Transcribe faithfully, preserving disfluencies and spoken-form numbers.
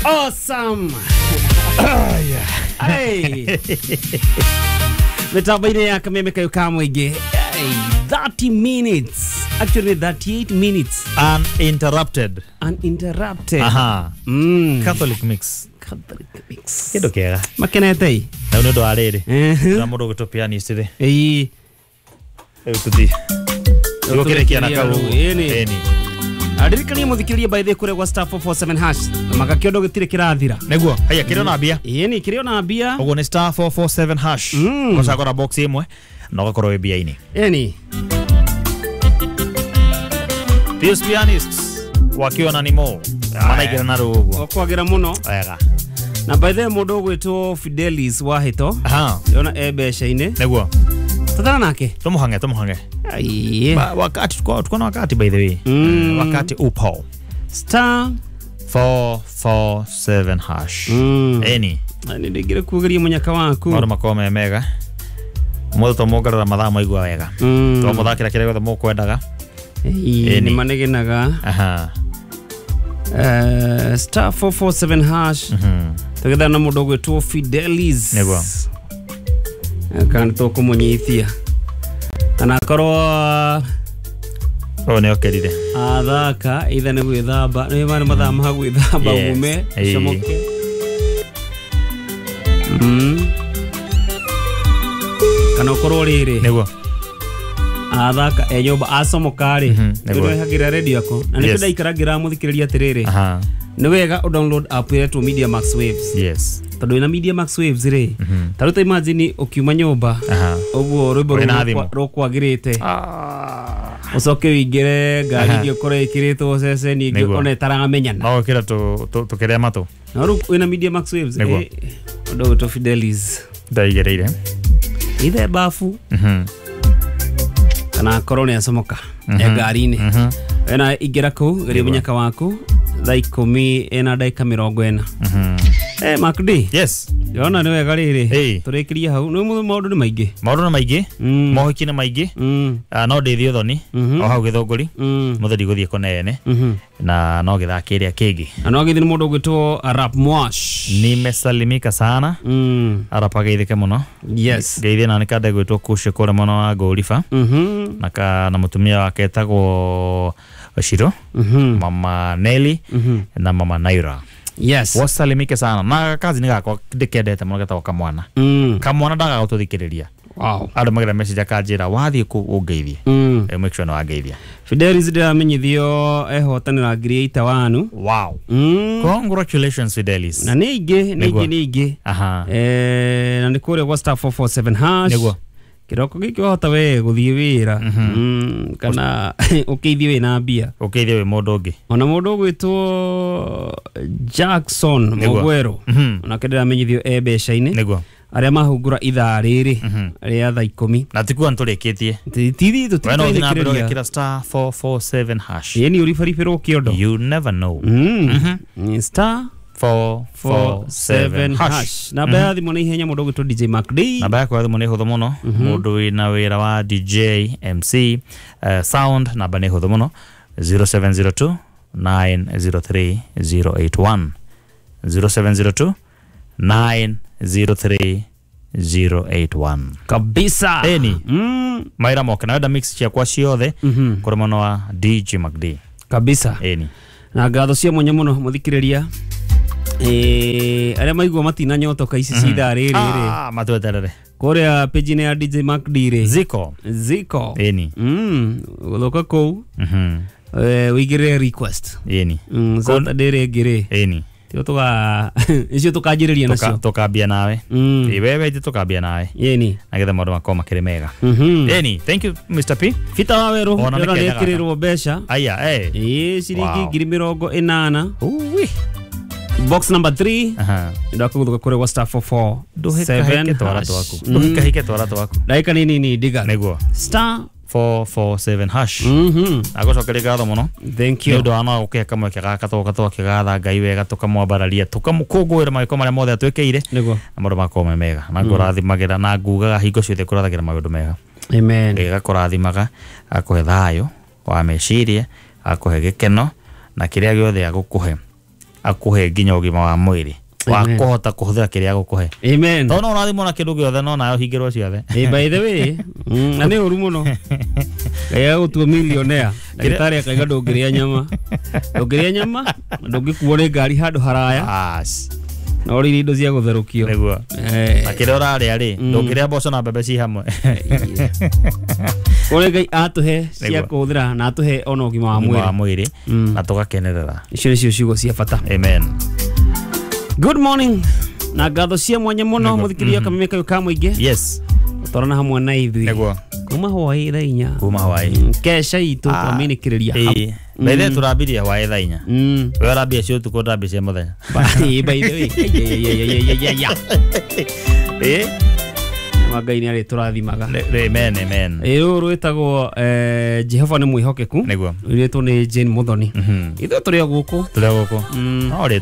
Awesome. Hey. Mitambo-inĩ ya kameme kayo ka mũingĩ. Hey, thirty minutes. Actually thirty-eight minutes. Uninterrupted. Uninterrupted. Aha. Mm. Catholic mix. Catholic mix. Kĩndũ kĩega. Makenete. Na nĩ ũndũ wa rĩrĩ. Mhm. Na mũndũ ũgwĩtwo pianist rĩ. Ĩĩ. Rĩu tũthiĩ. Gũkĩrĩkia na kau. Ĩni. Ĩni. Aririkania mũthikĩrĩria by the kũrĩa gwa star four four seven hash. Magakĩondo gĩtirĩ kĩrathira. Nĩguo. Haya kĩrĩ ona mbia. Ĩni kĩrĩ ona mbia. Ũguo nĩ star four four seven hash. Mm. Ũcagũra box ĩmwe na ũgakorwo wĩ mbia-inĩ. Ĩni. Pius Pianists wakiwa na Nimo. Manaigĩra na rũu ũguo. Okwagĩra mũno. Wega. Na by the way mũndũ ũgwĩtwo Fidelis Wahĩto. Aha. Ndĩrona e mbeca-inĩ. Nĩguo. Tũthana nake. Tũmũhange tũmũhange. Aiye. Ba, wakati tuko tuko na wakati by the way. Mm. Wakati upo. Star four four seven hash. Mm. Eni. Nĩ ndĩngĩre kugeria mũnyaka waku. Maũndũ makorwo me mega. Mũthĩ tũmuongerera mathaa maigua wega. Mm. Twamũthakĩra kĩrĩa gĩothe mũkwendaga. Ĩĩ, Ĩni. nĩ manegenaga. Aha. Eh, star four four seven hash. Mhm. Tũgethana na mũndũ ũgwĩtwo Fidelis. Nĩguo. Kana tũkũmũnyithia. Kana akorwo Ũyũ nĩ okĩrire. athaka either nĩ gwĩthamba nĩ marĩ mathaa ma gwĩthamba Yes. ume Ĩĩ. comoke. Mm. Kana ũkorwo rĩrĩ Nĩguo. athaka e nyũmba acomoka rĩ Mhm, nĩguo. nĩwehagĩra redio yako na nĩkĩo Yes. ndaikara ngĩramũthikĩrĩria atĩrĩrĩ Aha. nĩ wega ũ download app ĩretwo Media Max Waves Yes. tondũ wĩna Media Max Waves rĩ Mhm. ta rĩu ta imagine ũkiuma nyũmba Aha. ũguo rwĩmbo Wĩna rũu thimũ. rũkwagĩrĩte Ah. ũcoke wĩingĩre ngari Aha. ĩngĩ ũkorwo ĩkĩrĩtwo ceceni ĩngĩ Nĩguo. ona ĩtaramenyana No gũkĩra tũ- tũ- tũkĩrĩa matũ. na rĩu wĩna Media Max Waves Nĩguo. eh, ũndũ ũgwĩtwo Fidelis Ndaigĩrĩire. ithe bafu Mhm. kana akorwo nĩ acomoka e ngari-inĩ Mhm. wena ingĩra kũu geria mũnyaka waku thaa ikũmi ĩna ndagĩka mĩrongo ĩna Mhm. Eh, Mark D Yes. ndĩrona nĩ wega rĩrĩ Ĩĩ. tũrĩkĩrie hau nĩ maũndũ nĩ maingĩ Maũndũ nĩ maingĩ. Mm. Mohiki nĩ maingĩ. Mm. Ah, no ndĩthiĩ ũthoni Mhm. o hau gĩthũngũri Mm. mũthĩ ndigũthiĩ kũnene Mhm. na no gĩthaa kĩrĩa kĩngĩ na no agĩthiĩ nĩ mũndũ ũgwĩtwo Arap Mwash nimesalimika sana Mm. arap ageithĩke mũno Yes. ngeithie na nĩ kande gwĩtwo Kushe kũrĩa mwena wa Ngũriba Mhm. na ka na mũtumia wake etagwo Shiro Mhm. mama Nelly Mhm. na mama Naira Yes. wasalimike sana na kazi nĩ gakwa ndĩkendete mũno getagwo kamwana Mm. kamwana ndagaga gũtũthikĩrĩria Wow. andũ magira message akanjĩra wathiĩ kũ ũngeithie Mm. Eh, make sure nĩ wangeithia Fidelis ndĩramenyithio ehotanĩra ngiri ita wanu wow Mm. congratulations Fidelis na nĩ ingĩ nĩ Nĩguo. ingĩ nĩ ingĩ aha Eh, na nĩ kũrĩa gwa star four four seven hash Nĩguo. kĩroko gĩkĩ wahota we gũthiĩ wĩra Mm, kana ũkĩithie wĩna mbia ũkĩithie wĩ mũndũ ũngĩ ona mũndũ ũgwĩtwo Jackson Nĩguo. Mogwero Mhm. onake ndĩramenyithio e mbeca-inĩ nĩguo arĩa mahungura ithaa rĩrĩ rĩa thaa ikũmi na tikuga nĩtũrĩkĩtie tithi we no ũthiĩ na mbere tũtirĩkĩrĩria ũgekĩra star four four seven hash ĩni ũribaribĩrwo kĩondo you never know Mm. Ni star four four four seven seven hash hash namba ya thimũ nĩ ihenya mũndũ ũgwĩtwo D J Mark D namba yakwa ya thimũ nĩ hũthũ mũno mũndũ wĩna wĩra wa D J M C eh, sound namba nĩ hũthũ mũno zero seven zero two nine zero three zero eight one zero seven zero two nine zero three zero eight one kabisa Ĩni. Mm. mawĩra moke na wenda mix ciakwa ciothe Mhm. kũrĩ mwena wa D J Mark D kabisa ĩni na ngatho cia mwanya mũno mũthikĩrĩria eh arĩa maigua matinanyotoka ici cia ithaa rĩrĩ rĩ Ah, matweterere kũrĩa page-inĩ ya D J Mark D rĩ ziko ziko ĩni mm gũthũka kũu Mhm. eh, ũigĩrĩre request ĩni mm Saturday rĩngĩ rĩ ĩni tio tũga icio tũkanjĩrĩria nacio tũkambia nawe Mm. Ĩ, wewe ithe tũkambia nawe ĩni nagetha maũndũ makorwo makĩrĩ mega Mhm. ĩni thank you Mister P Bita wa werũ Ona nĩ ndĩrona kenda gaka. nĩekĩrĩrwo mbeca aya eh ĩĩ ciringi Wow. ngiri mĩrongo ĩnana uwi box number three aha ndakũgũthũka kũrĩa gwa star four four ndũhĩkahĩke seven twara hash. twaku Mm. ndũhĩkahĩke twara twaku ndagĩka nini nini ndiga nĩguo star four four seven hash Mhm. agũcokeria ngatho mũno Thank nĩ you. ũndũ wa no gũkĩhe kamweke gaka tũgoka tũgakĩgatha Ngai wega tũkamwambararia tũkamũkũngũĩra mawĩko marĩa mothe atwĩkĩire Nĩguo. na maũndũ makorwo me mega na ngũrathimagĩra na ngugaga hingo ciothe kũrathagĩra maũndũ mega Amen. Ngai agakũrathimaga agakũhe thayũ wa meciria agakũhe gĩkeno na kĩrĩa gĩothe agũkũhe Akuhe nginya ũgima wa mwĩrĩ wa Amen. kũhota kũhũthĩra kĩrĩa agũkũhe. Amen. Tondũ no ũrathimwo na kĩndũ gĩothe no nawe ũhingĩrwo ciothe. Eh, by the way, mm, na nĩ ũru mũno Ngai agũtua millionaire, ndagĩtarĩ akaiga ndũngĩrĩa nyama, ndũngĩrĩa nyama, ndũngĩkuo nĩ ngari handũ haraya, As. na ũrĩire indo cia gũtherũkio. Nĩguo. Eh, Na kĩrĩa ũrarĩa rĩ, ndũngĩrĩa mboco na mbembe ci hamwe. Kũrĩ Ngai atũhe cia Nĩguo. kũhũthĩra na atũhe ona ũgima wa Ũgima wa mwĩrĩ. mwĩrĩ Mm. na tũgakenerera. Icio nĩcio ciugo cia bata. Amen. Good morning na ngatho cia mwanya mũno Nĩguo. mũthikĩria kameme kayũ ka mũingĩ Yes. twarana hamwe na ithuĩ Nĩguo. kuma hwaĩ thaa inya. Kuma hwaĩ. Mm, kesha itũ twamĩnĩkĩrĩria hau. Ĩĩ. Bethe tũrambirie hwaĩ thaa inya. Mm. We ũrambia cia ũtukũ, ndambia cia mũthenya. By by the way, yeah. Ĩĩ. Ma Ngai nĩ arĩtũrathimaga. Nĩ- amen, amen. Ĩ rũrũ rwĩtagwo eh, Jehova nĩ mwĩhokeku. Nĩguo. Rwĩtwo nĩ Jane Muthoni. Mhm. Ithuĩ tũrĩ o gũkũ. Tũrĩ o gũkũ. Mm. No rĩ